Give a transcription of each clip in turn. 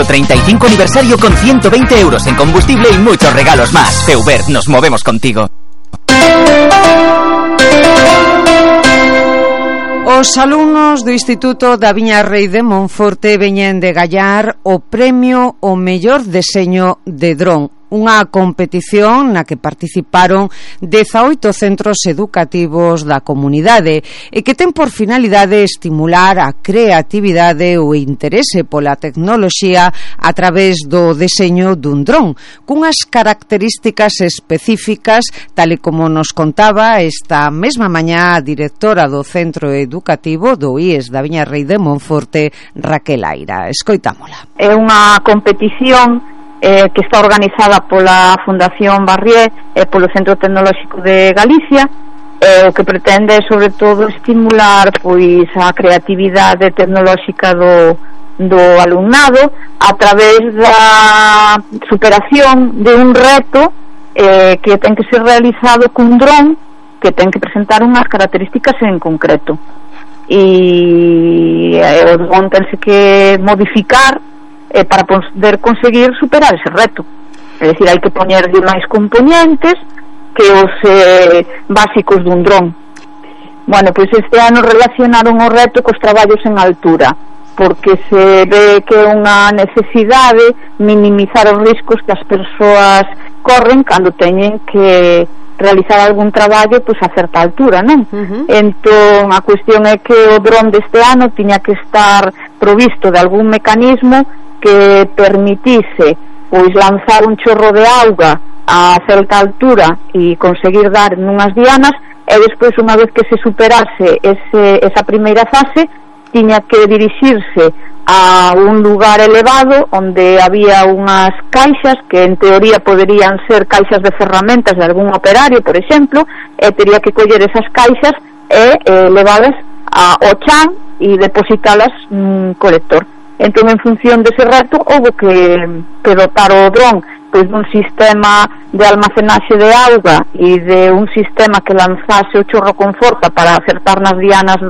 nuestro 35 aniversario con 120 euros en combustible y muchos regalos más. Feubert, nos movemos contigo. Os alumnos do Instituto da Viña Rei de Monforte veñen de gallar o premio ao mellor deseño de dron, unha competición na que participaron 18 centros educativos da comunidade e que ten por finalidade estimular a creatividade ou interese pola tecnoloxía a través do deseño dun dron, cunhas características específicas, tal e como nos contaba esta mesma mañá a directora do centro educativo do IES da Viña Rei de Monforte, Raquel Aira. Escoitámola. É unha competición que está organizada pola Fundación Barrié e polo Centro Tecnolóxico de Galicia, o que pretende sobre todo estimular pois a creatividade tecnolóxica do alumnado a través da superación de un reto que ten que ser realizado cun dron que ten que presentar unhas características en concreto, e o dron tense que modificar para poder conseguir superar ese reto. É dicir, hai que poñerlle máis componentes que os básicos dun dron. Bueno, pois este ano relacionaron o reto cos traballos en altura, porque se ve que é unha necesidade minimizar os riscos que as persoas corren cando teñen que realizar algún traballo pois a certa altura, non? Entón a cuestión é que o dron deste ano tiña que estar provisto de algún mecanismo que permitise pois lanzar un chorro de auga a certa altura e conseguir dar nunhas dianas, e despois, unha vez que se superase esa primeira fase, tiña que dirixirse a un lugar elevado onde había unhas caixas que en teoría poderían ser caixas de ferramentas de algún operario, por exemplo, e tería que coller esas caixas e levadas ao chan e depositalas nun colector. Entón, en función dese reto, houve que dotar o dron pois dun sistema de almacenaxe de auga e de un sistema que lanzase o chorro con forza para acertar nas dianas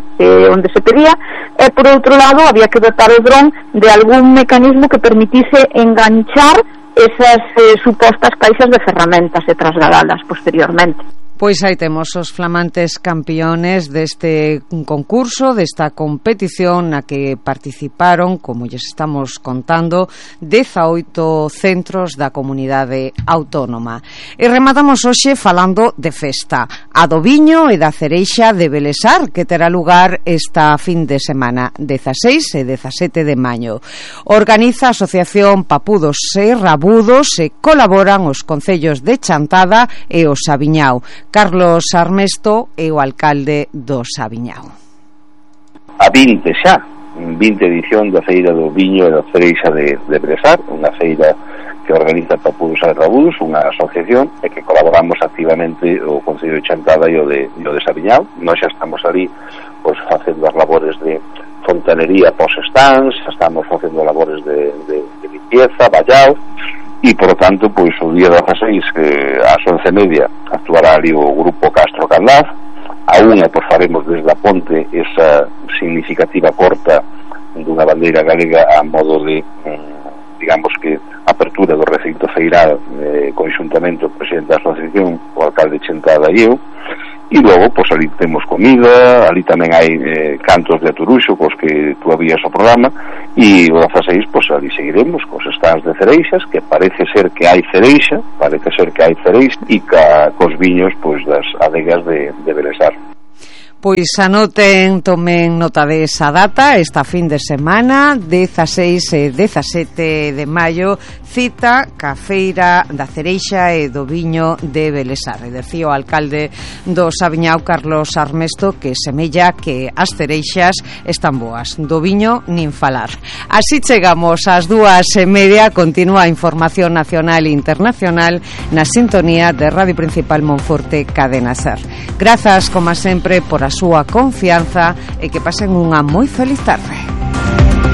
onde se pedía, e por outro lado había que dotar o dron de algún mecanismo que permitise enganchar esas supostas caixas de ferramentas e trasladalas posteriormente. Pois aí temos os flamantes campeones deste concurso, desta competición na que participaron, como lles estamos contando, 18 centros da comunidade autónoma. E rematamos hoxe falando de festa, a do viño e da cereixa de Belesar, que terá lugar esta fin de semana, 16 e 17 de maio. Organiza a Asociación Papudos e Rabudos e colaboran os concellos de Chantada e o Sabiñao. Carlos Armesto é o alcalde do Sabiñao. A 20 edición da Feira do Viño e da Cereixa de Belesar, unha feira que organiza Papudos e Rabudos, unha asociación, e que colaboramos activamente o Concello de Chantada e o de Sabiñao. Nós xa estamos ali pois, facendo as labores de fontanería pos-stands, xa estamos facendo labores de limpieza, vallao, e, por tanto, pois, o día 16, ás 11:30, actuará ali o grupo Castro Candaz. A unha, pois, faremos desde a ponte esa significativa corta dunha bandeira galega a modo de, digamos que, apertura do recinto feiral, conxuntamente o presidente da asociación, o alcalde Chantada e eu. E logo, pois, ali temos comida, ali tamén hai cantos de Aturuxo, cos que tú habías o programa, e o 16, pois, ali seguiremos cos stands de cereixas, que parece ser que hai cereixa, e cos viños, pois, das adegas de Belesar. Pois anoten, tomen nota de esa data, esta fin de semana, 16 e 17 de maio, cita ca Feira da Cereixa e do Viño de Belesar. E decía o alcalde do Sabiñao, Carlos Armesto, que semella que as cereixas están boas, do viño nin falar. Así chegamos ás 2:30, continúa a información nacional e internacional na sintonía de Radio Principal Monforte Cadena Ser. Grazas, como sempre, por a súa confianza e que pasen unha moi feliz tarde.